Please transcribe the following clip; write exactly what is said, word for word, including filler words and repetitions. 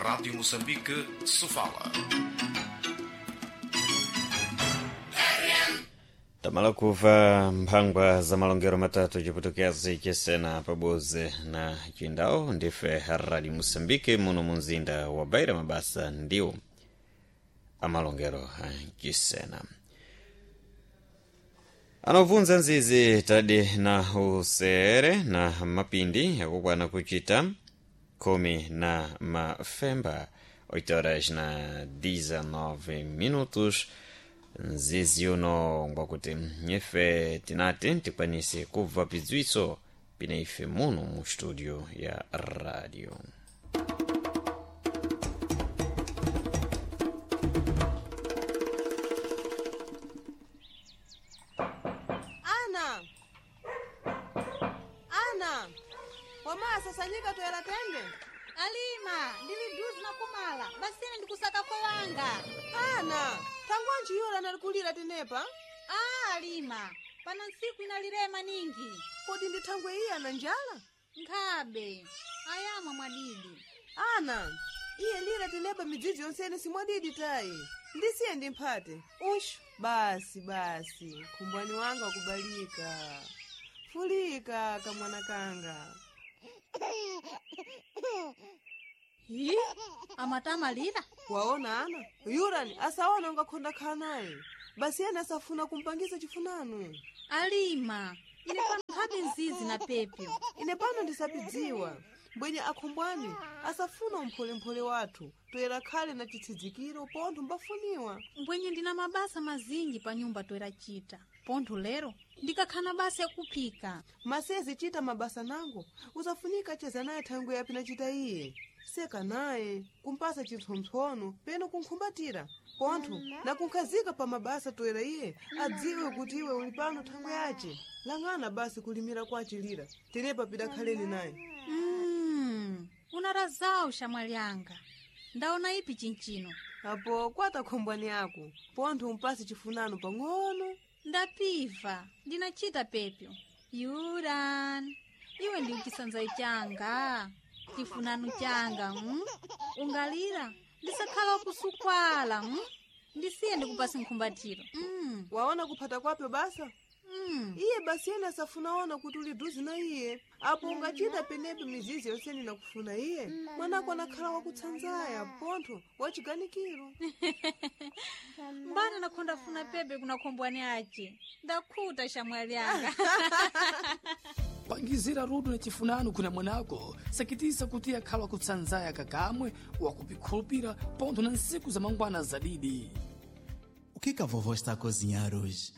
Rádio Moçambique, Sofala. Tamala kuva mphangwa za malongero matatu ciputukiazi cesena paboze na cindau ndife Rádio Moçambique muno munzinda wa Beira mabasa ndiwo amalongero a cisena anobvunza nzizi tadi na usere na mapindi akukwana kuchita khumi na mafemba oito horas na dezenove minutos. Nzizi uno ngwakuti nyefe tinati tikwanise kubva pidziwitso pina ife muno mu studio ya radio. Ana, ana, wamasasanyika toyera tende. Alima, ndili duzi na kumala basine ndikusaka kwa wanga. Ana, thangwanji yura nalikulira tenepa. Ah, Alima, pano ntsiku inalirema ningi. Kodi ndi thangwe iye ana njala? Nkhabe ayamwa mwadidi. Ana, iye lira tenepa midzidzi yonsene simwadidi tayi. Ndisiye ndimphate. Ushu, basi basi, khumbwani wanga wakubalika. Fulika kamwana kanga. Hi, amatamalira. Waona ana, yurani asaona ungakhonda khala naye. Basi ena asafuna kumpangisa chifunano. Alima, ine pano nkhabe nzizi na pepyo. Ine pano ndisapidziwa mbwenye akhumbwani asafuna umpholemphole wathu toyera khale na chitsidzikiro pontho mbafuniwa. Mbwenye ndina mabasa mazinji pa nyumba toera chita pontho lero ndikakhana basa yakuphika. Masezi chita mabasa nango usafunika cheza naye thangwe yapi nachita iye seka naye kumpasa chipsompsono peno kunkhumbatira pontho nakunkhazika pa mabasa toera iye adziwe kuti iwe uli pano thangwe yace. Lang'ana basi kulimira kwace lira tenepa pidakhaleni naye. Mm, unarazawu shamwali yanga ndaona ipi chinchino. Apo kwata khombwani yako pontho umpase chifunano pang'ono. Ndapiva ndinachita pepyo. Yuran, iwe ndi chisanzayi changa, chifunano changa mm? Ungalira ndisakhala wakusukwala mm? Ndisiye ndikupase nkhumbatiro mm. Waona kuphata kwapyo basa. Mm. Iye basi yena asafunaona kuti uli duzi na iye. Apo ungachita penepo mizizi yonsene nakufuna iye mwanako anakhala wakutsanzaya pontho wachiganikiro. Mbana nakhonda funa pepe kuna khombwani ace ndakhuta shamwali yanga. Pangizira rudo na chifunano kuna mwanako sakitisa kuti akhala kutsanzaya kakamwe wakupikhulupira pontho na ntsiku za mangwana zadidi. O que que a vovó está a cozinhar hoje?